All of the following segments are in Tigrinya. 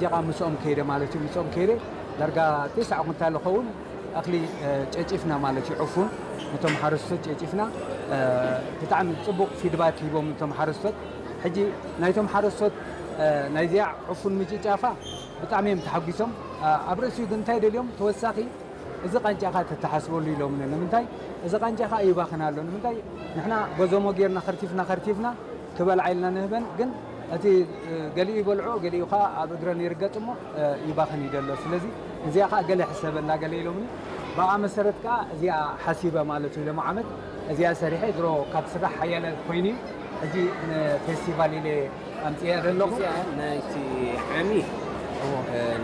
ደቂቃ ምስኦም ከይደ ማለት እዩ። ምስኦም ከይደ ዳርጋ ተስዓ ኩንታል ዝኸውን እኽሊ ጨጪፍና ማለት እዩ። ዕፉን ነቶም ሓረስቶት ጨጪፍና፣ ብጣዕሚ ፅቡቕ ፊድባክ ሂቦም እቶም ሓረስቶት። ሕጂ ናይቶም ሓረስቶት ናይዚኣ ዕፉን ምጭጫፋ ብጣዕሚ እዮም ተሓጒሶም። ኣብ ርእሲኡ ግን እንታይ ደልዮም ተወሳኺ እዚ ቃንጫኻ ተተሓስበሉ ኢሎምኒ። ንምንታይ እዚ ቃንጫኻ ይባኽን ኣሎ? ንምንታይ ንሕና ጎዞሞ ጌርና ከርቲፍና ከርቲፍና ክበልዓ ኢልና ንህበን፣ ግን እቲ ገሊኡ ይበልዖ፣ ገሊኡ ኸዓ ኣብ እግረን ይርገጥ እሞ ይባኽን እዩ ዘሎ። ስለዚ እዚኣ ኸዓ ገለ ሕሰበላ ገለ ኢሎምኒ። ብኣ መሰረት ከኣ እዚኣ ሓሲበ ማለት እዩ። ሎም ዓመት እዚኣ ሰሪሐ ድሮ ካብ ስራሕ ሓያለ ኮይኑ እዩ። ሕጂ ንፌስቲቫል ኢለ ኣምፅያ ዘለኹ። እዚኣ ናይቲ ዓሚ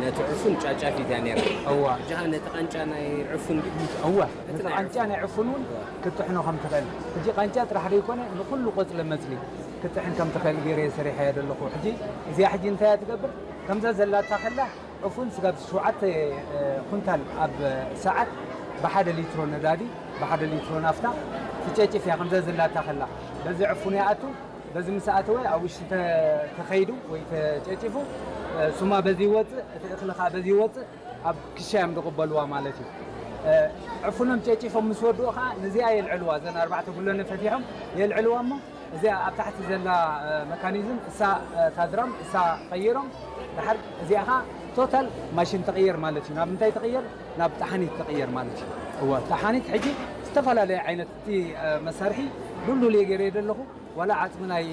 ነቲ ዕፉን ጫጫፊት እያ ነይራ። እዋ እጃኻ ነቲ ቃንጫ ናይ ዕፉን ድዩ? እዋ ነቲ ቃንጫ ናይ ዕፉን እውን ክትጥሕኖ ከም ትኽእል፣ ሕጂ ቃንጫ ጥራሕ ዘይኮነ ንኩሉ ቆፅለ መፅሊ ክትጥሕን ከም ትኽእል ገይረ ሰሪሐያ ዘለኹ። ሕጂ እዚኣ ሕጂ እንታይ እያ ትገብር? ከምዛ ዘላታ ከላ ዕፉን ስጋብ ሸውዓተ ኩንታል ኣብ ሰዓት ብሓደ ሊትሮ ነዳዲ ብሓደ ሊትሮ ናፍታ ትጨጭፍ እያ። ከምዛ ዘላታ ከላ በዚ ዕፉን ይኣቱ። በዚ ምስ ኣተወ ኣብ ውሽጢ ተ- ተኸይዱ ወይ ተጨጭፉ፣ ሱማ በዚ ይወፅእ፣ እቲ እኽሊ ከዓ በዚ ይወፅእ፣ ኣብ ክሻ እዮም ዝቕበልዋ ማለት እዩ። ዕፉኖም ጨጭፎም ምስ ወድኡ ከዓ ነዚኣ የልዕልዋ። እዘን ኣርባዕተ ጉለነ ፈቲሖም የልዕልዋ እሞ እዚኣ ኣብ ታሕቲ ዘላ መካኒዝም እሳ ታድራም እሳ ቀይሮም ድሓር እዚኣ ከዓ ቶታል ማሽን ትቕየር ማለት እዩ። ናብ እንታይ ትቕየር? ናብ ጠሓኒት ትቕየር ማለት እዩ። እወ ጠሓኒት ሕጂ ዝተፈላለየ ዓይነት እቲ መሳርሒ ሉሉል እየ ገይረ ዘለኹ። ዋላ ዓፅሚ ናይ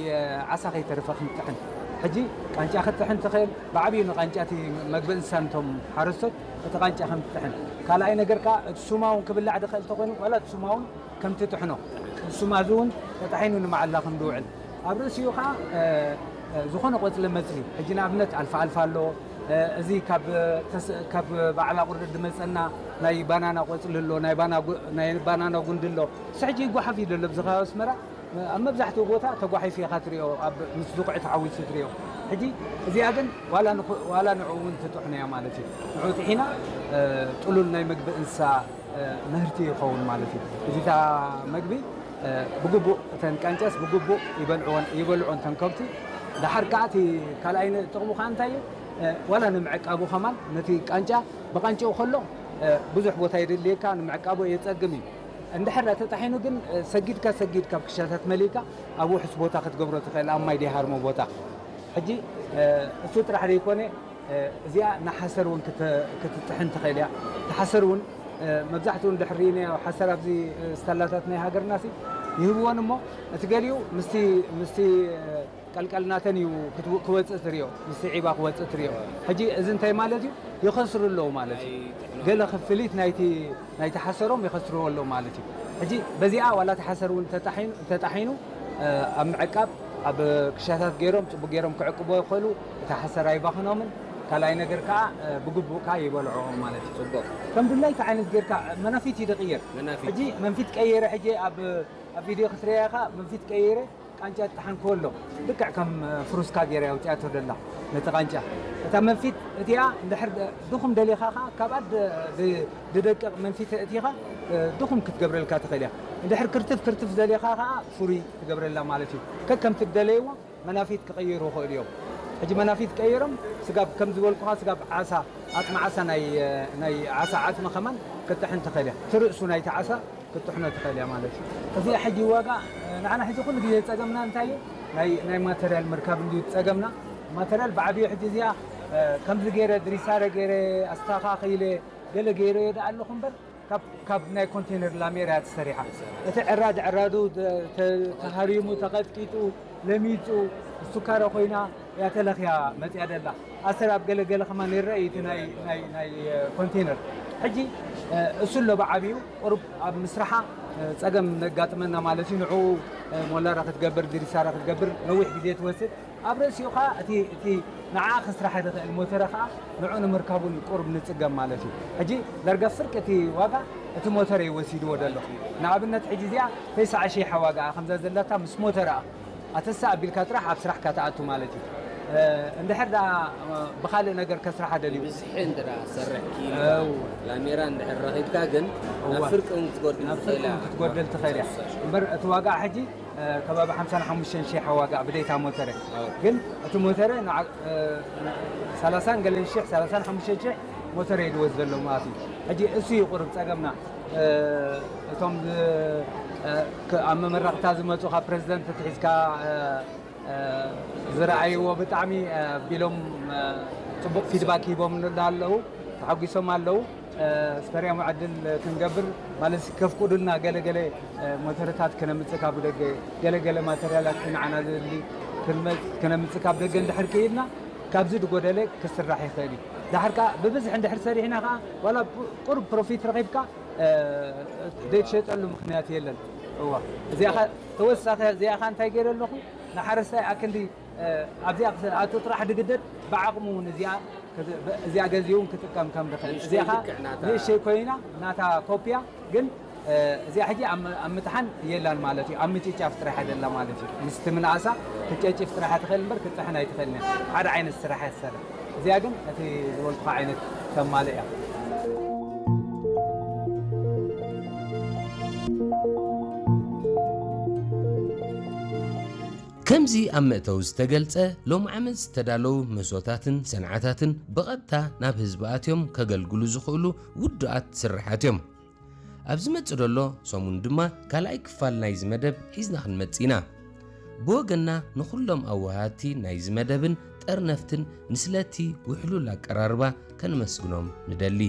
ዓሳ ከይተርፈ ክንጥሕን ሕጂ ቃንጫ ክትጥሕን ትኽእል። ብዓብዩ ንቃንጫ እቲ መግቢ እንስሳ ነቶም ሓረስቶት እቲ ቃንጫ ከም ትጥሕን። ካልኣይ ነገር ከዓ እቲ ሱማ እውን ክብላዕ ዝኽእል ተኮይኑ ዋላ እቲ ሱማ እውን ከም ትጥሕኖ ሱማ እዚ እውን ተጣሒኑ ንመዓላ ከም ዝውዕል ኣብ ርእሲኡ ከዓ ዝኾነ ቆፅሊ መፅሊ ሕጂ ንኣብነት ኣልፋ ኣልፋ ኣሎ። እዚ ካብ ባዕላ ቁርደት ዝመፀና ናይ ባናና ቆፅሊ ኣሎ፣ ናይ ባናና ጉንዲ ኣሎ። እዚ ሕጂ ይጓሓፍ እዩ ዘሎ ኣብዚ ከባቢ ኣስመራ ኣብ መብዛሕትኡ ቦታ ተጓሒፉ ኢኻ ትሪኦ፣ ኣብ ምስ ዝቑዒ ተሓዊሱ ትሪኦ። ሕጂ እዚኣ ግን ዋላ ንዑ እውን ትጥሕኖ እያ ማለት እዩ። ንዑ ጥሒና ጥሉል ናይ ምግቢ እንስሳ ምህርቲ ይኸውን ማለት እዩ። እዚታ መግቢ ብግቡእ እተን ቃንጫስ ብግቡእ ይበልዕወን ይበልዖን እተን ከብቲ። ደሓር ከዓ እቲ ካልኣይ ጥቕሙ ከዓ እንታይ እዩ? ዋላ ንምዕቃቡ ከማን ነቲ ቃንጫ ብቃንጭኡ ከሎ ብዙሕ ቦታ የድልየካ፣ ንምዕቃቡ የፀግም እዩ። እንድሕር ተጣሒኑ ግን ሰጊድካ ሰጊድካ ብክሻታት መሊእካ ኣብ ውሕስ ቦታ ክትገብሮ ትኽእል፣ ኣብ ማይ ደይሃርሞ ቦታ። ሕጂ እሱ ጥራሕ ዘይኮነ እዚኣ ንሓሰር እውን ክትጥሕን ትኽእል እያ። እቲ ሓሰር እውን መብዛሕትኡ እንድሕር ርኢናዮ ሓሰር ኣብዚ ስታላታት ናይ ሃገርና ሲ ይህብወን እሞ እቲ ገሊኡ ምስቲ ምስቲ ቀልቀል ናተን እዩ ክወፅእ ትሪኦ፣ ምስቲ ዒባ ክወፅእ ትሪኦ። ሕጂ እዚ እንታይ ማለት እዩ? ይኸስሩ ኣለዉ ማለት እዩ። ገለ ክፍሊት ናይቲ ናይቲ ሓሰሮም ይኸስርዎ ኣለዉ ማለት እዩ። ሕጂ በዚኣ ዋላ እቲ ሓሰር እውን ተጣሒኑ ተጣሒኑ ኣብ ምዕቃብ ኣብ ክሻታት ገይሮም ፅቡቅ ገይሮም ክዕቅቦ ይኽእሉ። እቲ ሓሰር ኣይባኽኖምን። ካልኣይ ነገር ከዓ ብግቡእ ከዓ ይበልዖኦም ማለት እዩ። ፅቡቅ ከም ድላይካ ዓይነት ጌርካ መናፊት ይደቅየር። መናፊት። ሕጂ መንፊት ቀይረ ሕጂ ኣብ ኣብ ቪድዮ ክትሪያ ኢኻ መንፊት ቀይረ ቃንጫ ይጠሓን ከሎ ልክዕ ከም ፍሩስካ ገይራ ኣውፂኣቶ ደላ ነቲ ቃንጫ እታ መንፊት እቲኣ እንድሕር ድኹም ደሊኻ ከዓ ካብኣ ድደቅቕ መንፊት እቲኻ ድኹም ክትገብረልካ ትኽእል እያ። እንድሕር ክርትፍ ክርትፍ ደሊኻ ከዓ ፍሩይ ትገብረላ ማለት እዩ። ከከምቲ ደለይዎ መናፊት ክቐይሩ ይኽእሉ እዮም። ሕጂ መናፊት ቀይሮም ስጋብ ከም ዝበልኩኻ ስጋብ ዓሳ ዓፅሚ ዓሳ ናይ ናይ ዓሳ ዓፅሚ ከማን ክትጥሕን ትኽእል እያ። ትርእሱ ናይቲ ዓሳ ክትጥሕኖ ትኽእል እያ ማለት እዩ። እዚኣ ሕጂ ዋጋ ንዓና ሕጂ ኩሉ ግዜ ዝፀገምና እንታይ እዩ? ናይ ናይ ማተርያል ምርካብ እንድዩ ዝፀገምና። ማተርያል ብዓብዩ ሕጂ እዚኣ ከምዚ ገይረ ድሪሳረ ገይረ ኣስተኻኺለ ገለ ገይረ እየ ደኣ ኣለኹ እምበር ካብ ናይ ኮንቴነር ላሜራ እያ ተሰሪሓ። እቲ ዕራድ ዕራዱ ተሃሪሙ ተቐጥቂጡ ለሚፁ እሱካረ ኮይና እያ ተለኽያ መፅያ ደላ። ኣሰር ኣብ ገለ ገለ ከማን ይረአ እዩ እቲ ናይ ኮንቴነር። ሕጂ እሱ ኣሎ ብዓብዩ ቁሩብ ኣብ ምስራሓ ፀገም ነጋጥመና ማለት እዩ። ንዕኡ ሞላረ ክትገብር ድሪሳረ ክትገብር ነዊሕ ግዜ ትወስድ። ኣብ ርእሲኡ ኸዓ እቲ እቲ ንዓ ክስራሕ ዝኽእል ሞተረ ኸዓ ንዑ ንምርካቡን ቁሩብ ንፅገም ማለት እዩ። ሕጂ ዳርጋ ፍርቂ እቲ ዋጋ እቲ ሞተረ እዩ ወሲድዎ ዘሎ። ንኣብነት ሕጂ እዚኣ ተስዓ ሺሕ ዋጋ ከምዛ ዘለታ ምስ ሞተራ ኣተሳ ኣቢልካ ጥራሕ ኣብ ስራሕካ ትኣቱ ማለት እዩ። እንድሕር ደኣ ብኻልእ ነገር ከስራሓ ደልዩ ብዝሒ እንድራ ሰርሕ ኪኢልካ ላሜራ እንድሕር ረኺብካ ግን ናብ ፍርቂ እውን ክትጎድል ትኽእል እያ። ክትጎደል ትኽእል እያ እምበር እቲ ዋጋ ሕጂ ከባቢ ሓምሳን ሓሙሽተን ሺሕ ዋጋ ብደይታ ሞተረ። ግን እቲ ሞተረ ንዓ-፣ እ፣ ሰላሳን ገለን ሺሕ፣ ሰላሳን ሓሙሽተን ሺሕ ሞተረ እዩ ዝወስድ ዘሎ ማለት እዩ። ሕጂ እሱ እዩ ቁሩብ ጸገምና። እ፣ እቶም ዝ-፣ እ፣ ክ-፣ ኣብ መመረቕታ ዝመጹ ካብ ፕሬዚደንት ትሒዝካ፣ እ፣ እ፣ ዝረኣይዎ ብጣዕሚ፣ እ፣ ቢሎም፣ እ፣ ጽቡቕ ፊድባክ ሂቦም ኣለዉ፣ ተሓጒሶም ኣለዉ። እ፣ ስፐርያም ዕድል ክንገብር ማለት ከፍቅዱልና ገለገለ፣ እ፣ ሞተርታት ከነምጽእ ካብ ደገ፣ ገለገለ ማተርያላት ንዓና ዘድሊ ክንመጽ-፣ ከነምጽእ ካብ ደገ እንድሕር ክኢልና ካብዚ ዝጎደለ ክስራሕ ይኽእል እዩ። ድሓር ከኣ ብብዝሒ እንድሕር ሰሪሕና ከኣ ዋላ ቁ-፣ ቁሩብ ፕሮፊት ረኺብካ፣ እ፣ ዘይትሸጠሉ ምኽንያት የለን። እዋ፣ እዚኣ ኸ ተወሳኺ፣ እዚኣ ኸ እንታይ ገይረ ኣለኹ? ንሓረስታይ ኣክንዲ፣ እ፣ ኣብዚኣ ክስ-፣ ኣቶ ጥራሕ ድግደድ ብዓቕሙ እውን እዚኣ ክት-፣ ብ-፣ እዚኣ ገዚኡ እውን ክጥቀም ከም ድኽእል። ንእሽተይ እዚኣ ኸ ልክዕ ናታ። ንእሽተይ ኮይና ናታ ኮፒያ ግን፣ እ፣ እዚኣ ሕጂ ኣብ ም-፣ ኣብ ምጥሓን የላን ማለት እዩ። ኣብ ምጭጫፍ ጥራሕ እያ ዘላ ማለት እዩ። ምስቲ ምንኣሳ ክትጨጭፍ ጥራሕ እያ ትኽእል እምበር ክትጥሕን ኣይትኽእልን እያ። ሓደ ዓይነት ስራሕ እያ ትሰርሕ። እዚኣ ግን እቲ ዝበልኩኻ ዓይነት ተማልእ እያ። ከምዚ ኣብ መእተዊ ዝተገልጸ፣ ሎም ዓመት ዝተዳለዉ መስዋእታትን ሰንዓታትን ብቐጥታ ናብ ህዝቢ ኣትዮም ከገልግሉ ዝኽእሉ ውዱኣት ስርሓት እዮም። ኣብ ዝመጽእ ዘሎ ሰሙን ድማ ካልኣይ ክፋል ናይዚ መደብ ሒዝና ክንመጽእ ኢና። ብወገንና ንኹሎም ኣወሃድቲ ናይዚ መደብን ጠርነፍትን ንስለቲ ውሕሉል ኣቀራርባ ከነመስግኖም ንደሊ።